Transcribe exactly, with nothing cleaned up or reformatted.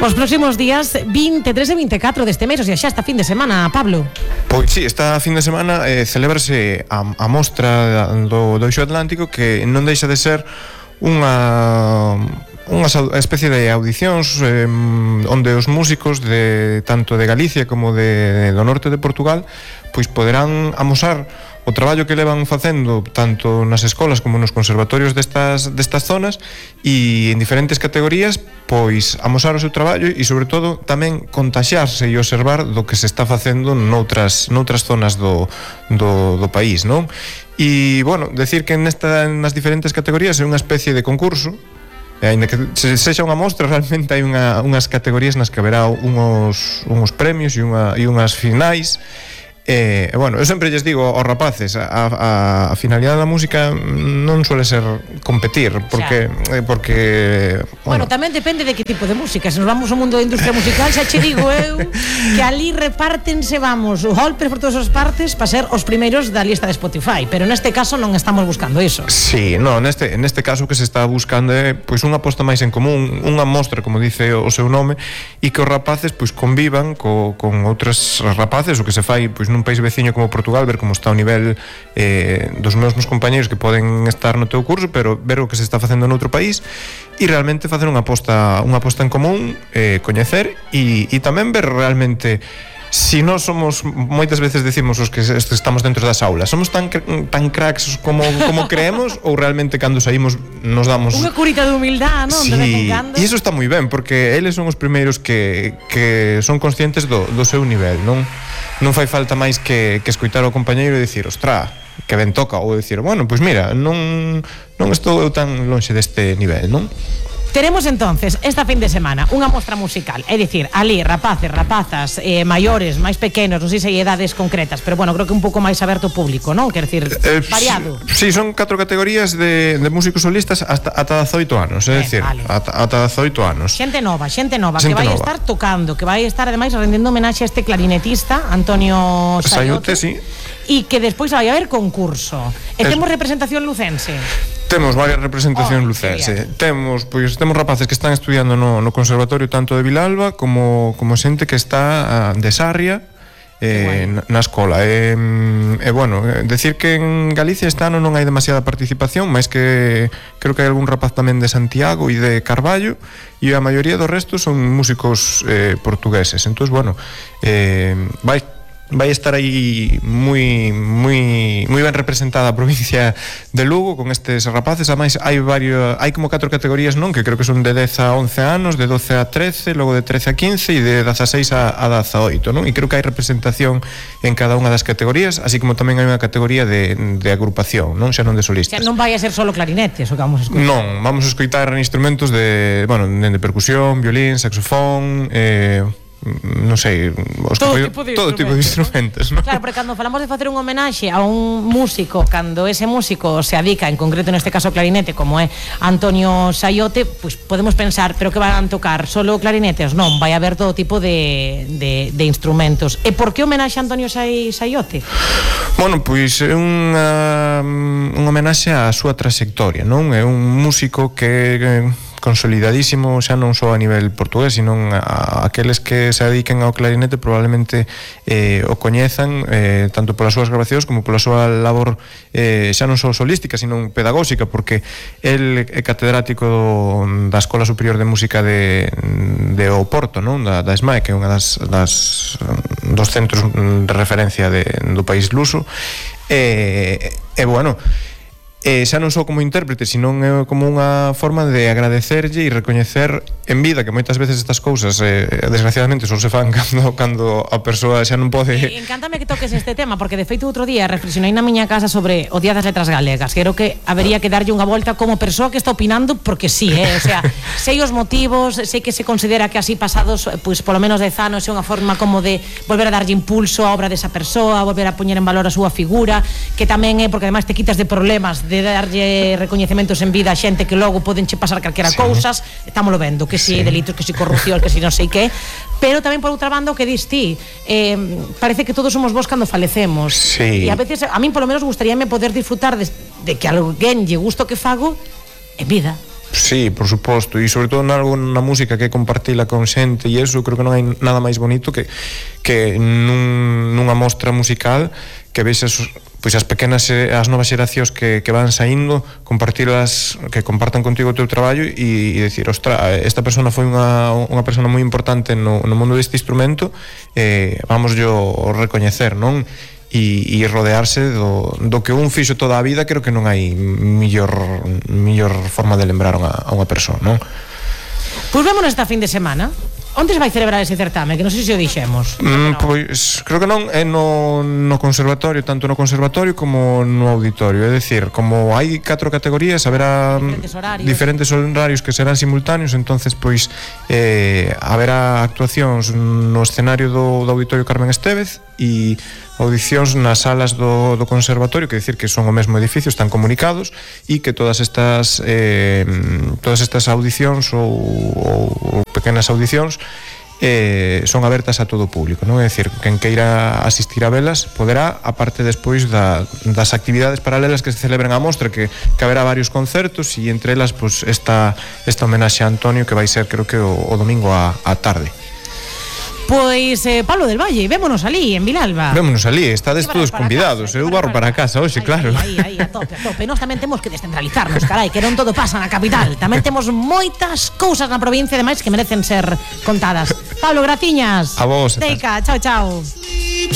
Os próximos días vinte e tres e vinte e catro deste mes, o sea, xa esta fin de semana, Pablo. Pois sí, esta fin de semana eh, celebrase a, a mostra do, do Eixo Atlántico, que non deixa de ser unha unha especie de audicións eh, onde os músicos de tanto de Galicia como de, do norte de Portugal pois poderán amosar o traballo que levan facendo tanto nas escolas como nos conservatorios destas, destas zonas, e en diferentes categorías pois amosar o seu traballo e sobre todo tamén contaxiarse e observar do que se está facendo noutras, noutras zonas do, do, do país, non? E, bueno, decir que nesta, nas diferentes categorías é unha especie de concurso, e ainda que se sexa unha mostra, realmente hai unha, unhas categorías nas que haberá unhos, unhos premios e, unha, e unhas finais. E, e bueno, eu sempre lles digo aos rapaces, a, a, a finalidade da música non suele ser competir, porque eh, porque bueno, bueno, tamén depende de que tipo de música. Se nos vamos ao mundo da industria musical, xa che digo eu que ali repártense, vamos, golpes por todas as partes para ser os primeiros da lista de Spotify, pero neste caso non estamos buscando iso. Sí, no, neste, neste caso que se está buscando é pois unha aposta máis en común, unha mostra, como dice o seu nome, e que os rapaces pois convivan co, con outros rapaces, o que se fai pois nun país veciño como Portugal, ver como está o nivel eh, dos mesmos compañeiros que poden estar no teu curso, pero ver o que se está facendo noutro país e realmente facer unha aposta, unha aposta en común, eh, coñecer e, e tamén ver realmente si nós somos, moitas veces decimos os que estamos dentro das aulas, somos tan, tan cracks como, como creemos, ou realmente cando saímos nos damos unha curita de humildade, non? Sí, e iso está moi ben, porque eles son os primeiros que, que son conscientes do, do seu nivel, non? Non fai falta máis que, que escoitar ao compañeiro e dicir, ostra, que ben toca, ou dicir, bueno, pois mira, non, non estou eu tan lonxe deste nivel, non? Teremos entonces esta fin de semana unha mostra musical, é dicir, ali rapaces, rapazas, eh, maiores, máis pequenos, non sei se hai edades concretas, pero bueno, creo que un pouco máis aberto ao público, non? Quer dicir, eh, variado. Si, sí, son catro categorías de, de músicos solistas hasta ata dezoito anos, é eh, dicir, vale. ata, ata dezoito anos. Xente nova, xente nova, xente que vai nova. estar tocando, que vai estar ademais rendendo homenaxe a este clarinetista Antonio Sayote, Sayote, sí. E que despois vai haber concurso. E es... temos representación lucense. Temos varias representacións oh, lucense. Temos, pois, temos rapaces que están estudiando no, no conservatorio tanto de Vilalba como, como xente que está uh, de Sarria eh, bueno. na, na escola. E, eh, bueno, decir que en Galicia este ano non hai demasiada participación, máis que creo que hai algún rapaz tamén de Santiago e de Carballo, e a maioría do resto son músicos eh, portugueses. Entón, bueno, eh, vai vai estar aí moi moi moi ben representada a provincia de Lugo con estes rapaces. Ademais hai varios, hai como catro categorías, non, que creo que son de dez a once anos, de doce a trece, logo de trece a quince e de dezaseis a dezaoito, non? E creo que hai representación en cada unha das categorías, así como tamén hai unha categoría de, de agrupación, non, xa non de solistas. Que non vai a ser solo clarinetes o que vamos a escoitar. Non, vamos a escoitar instrumentos de, bueno, de percusión, violín, saxofón, eh non sei, os todo, que, tipo de todo tipo de instrumentos, ¿no? Claro, porque cando falamos de facer un homenaxe a un músico, cando ese músico se adica, en concreto neste caso clarinete, como é Antonio Sayote, pues podemos pensar, pero que van tocar solo clarinetes? Non, vai haber todo tipo de, de, de instrumentos. E por que homenaxe a Antonio Sayote? Bueno, pois é unha un homenaxe á súa trayectoria, non? É un músico que consolidadísimo, xa non só a nivel portugués, sino a, a aqueles que se dediquen ao clarinete probablemente eh, o coñezan eh, tanto polas súas grabacións como pola súa labor eh, xa non só solística, sino pedagóxica, porque el é catedrático da Escola Superior de Música de, de Oporto, non? Da, da ESMAE, que é unha das, das dos centros de referencia de, do país luso, e, e bueno, eh, xa non só como intérprete, sino é como unha forma de agradecerlle e recoñecer en vida, que moitas veces estas cousas eh, desgraciadamente só se fan cando, cando a persoa xa non pode. eh, Encántame que toques este tema, porque de feito outro día reflexionei na miña casa sobre o Día das Letras Galegas. Creo que habería que darlle unha volta como persoa que está opinando, porque sí, eh? O sea, sei os motivos, sei que se considera que así pasados pois polo menos dez anos é unha forma como de volver a darlle impulso á obra desa persoa, volver a poñer en valor a súa figura, que tamén é porque ademais te quitas de problemas de darlle recoñecementos en vida a xente que logo podenche pasar calquera sí. cousas, estámoslo vendo, que si sí, delitos, que si corrupción, que si non sei que, pero tamén por outra banda o que dis ti, eh, parece que todos somos vos cando falecemos, sí. E a veces a min polo menos gustaríame poder disfrutar de, de que alguén lle gusto que fago en vida. Sí, por suposto, e sobre todo nalgo na música que compartila con xente e eso, creo que non hai nada máis bonito que que nun, nunha mostra musical que vexas pois as pequenas as novas xeracións que, que van saindo, compartilas, que compartan contigo o teu traballo e, e decir, ostra, esta persona foi unha, unha persona moi importante no, no mundo deste instrumento, eh, vamos yo recoñecer, non? E, e rodearse do, do que un fixo toda a vida. Creo que non hai millor millor forma de lembrar a unha, a unha persoa, non? Pois vémonos esta fin de semana. Onde se vai celebrar ese certame? Que non sei se o dixemos. Mm, pois, creo que non é no, no conservatorio, tanto no conservatorio como no auditorio. É dicir, como hai catro categorías, haberá diferentes horarios, diferentes horarios que serán simultáneos, entonces pois eh, haberá actuacións no escenario do, do auditorio Carmen Estévez e audicións nas salas do, do conservatorio, que decir que son o mesmo edificio, están comunicados, e que todas estas eh, todas estas audicións ou, ou, ou pequenas audicións eh, son abertas a todo o público, non? É dicir, quen queira asistir a velas poderá, aparte despois da, das actividades paralelas que se celebran á mostra, que, que haberá varios concertos, e entre elas pues, esta, esta homenaxe a Antonio, que vai ser creo que o, o domingo á, á tarde. Pois, eh, Pablo del Valle, vémonos ali, en Vilalba. Vémonos ali, estades todos convidados. Eu barro para casa hoxe, claro. Aí, aí, a tope, a tope. Nós tamén temos que descentralizarnos, carai, que non todo pasa na capital. Tamén temos moitas cousas na provincia, ademais, que merecen ser contadas. Pablo, graciñas. A vos. Teica, chao, chao.